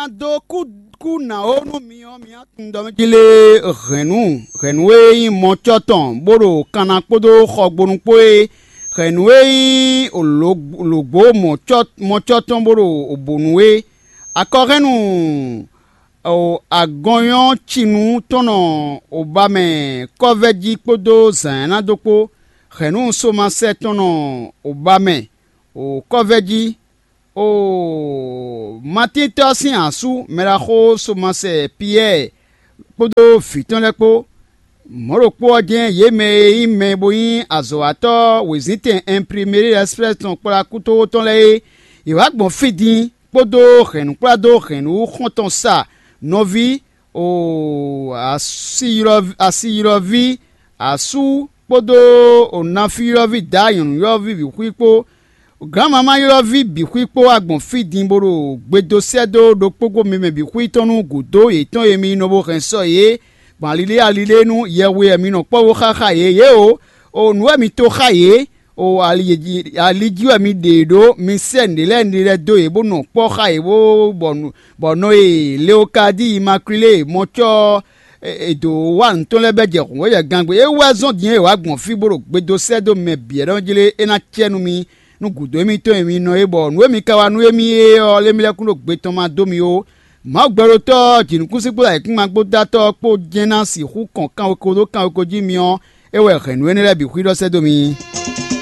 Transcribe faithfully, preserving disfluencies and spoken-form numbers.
dó kú kú nǎ ó nú mi ɔ́, mi ná tunwun ɖɔ mɛ jí lé hɛ̌nnu hɛ̌nnu e nyí mɔcɔ́ tɔn bó ɖo kanna kpódó xɔgbonu kpó é, hɛ̌nnu e nyí lǒgbó mɔcɔ́ tɔn bó ɖo bǒnu é. Akɔhɛ́nnu agɔnyɔ́ cinu tɔn nɔ oba mɛ kɔ́vɛ́ jí kpódó zǎn e ná dó kpó. Hɛ̌nnu somasɛ tɔn nɔ oba mɛ kɔ́vɛ́ jí. Oo, Matín tɔ́ sín asú mɛɖaxó somasɛ Piyɛ́ɛ kpódó vǐ tɔn lɛ́ɛ kpó. Mɔ̌ ɖokpó ɔ́ jɛ́n yě mɛ e nyí mɛ bo nyí azɔ̌watɔ́ wězíntɛn Ɛnprimeri Ɛsplɛ́si tɔn kplá kútóxó tɔn lɛ́ɛ é, yě wá gbɔn fí din kpódó hɛ̌nnukplá dó hɛ̌nnu xɔ́ntɔn sa nɔví oo asiylɔ́ví asú kpódó nafíylɔ́ví dǎ nyɔ̌nuylɔ́ví bǐ xwí kpó. Gǎnmamá ylɔ́ví bǐ xwí kpó wá gbɔn fí din bó ɖo gbe dó sɛ́ dó ɖokpógbó mi mɛ bǐ xwí tɔn nú gǔdo yětɔn e mi nɔ bo hɛn sɔ yě gbɔn alilé alilé nú yɛhwe wɛ mi nɔ kpɔ́ bó xá xá yě yě o. O nǔ wɛ mi to xá yě o, ali jí wɛ mi ɖe yě ɖó. Mi sɛ́ nǔɖé lɛ́ɛ nǔɖé lɛ́ɛ dó yě bó nɔ kpɔ́ xá yě bó bɔ nɔ e Leokadíi Makwilée mɔcɔ́ e dǒ wa nǔ tɔn lɛ́ɛ bɛ́ jɛ hǔnwéjɛgangbe. É wɛ zɔ́n din e wǎ gbɔn fí bó ɖo gbe dó sɛ́ dó mɛ bǐ wɛ ɖɔ jlé é ná cɛ nú mi nú gǔdo émítɔn e mi nɔ é, bɔ nǔ e mi ka wa nú émí é ɔ́, lé mi lɛ́ kún ɖo gbe tɔn ma dó mi ó. Mawu gbɛɖotɔ́ ɔ́, jǐnukúnsin kpódó ayǐkúngban kpó dó atɔ́ ɔ́ kpó jɛ́n ná sixú kɔn kanweko dó kanweko jí mi ɔ́, é wɛ hɛ̌nnu énɛ́ lɛ́ɛ bǐ xwíɖɔ sɛ́ dó mi.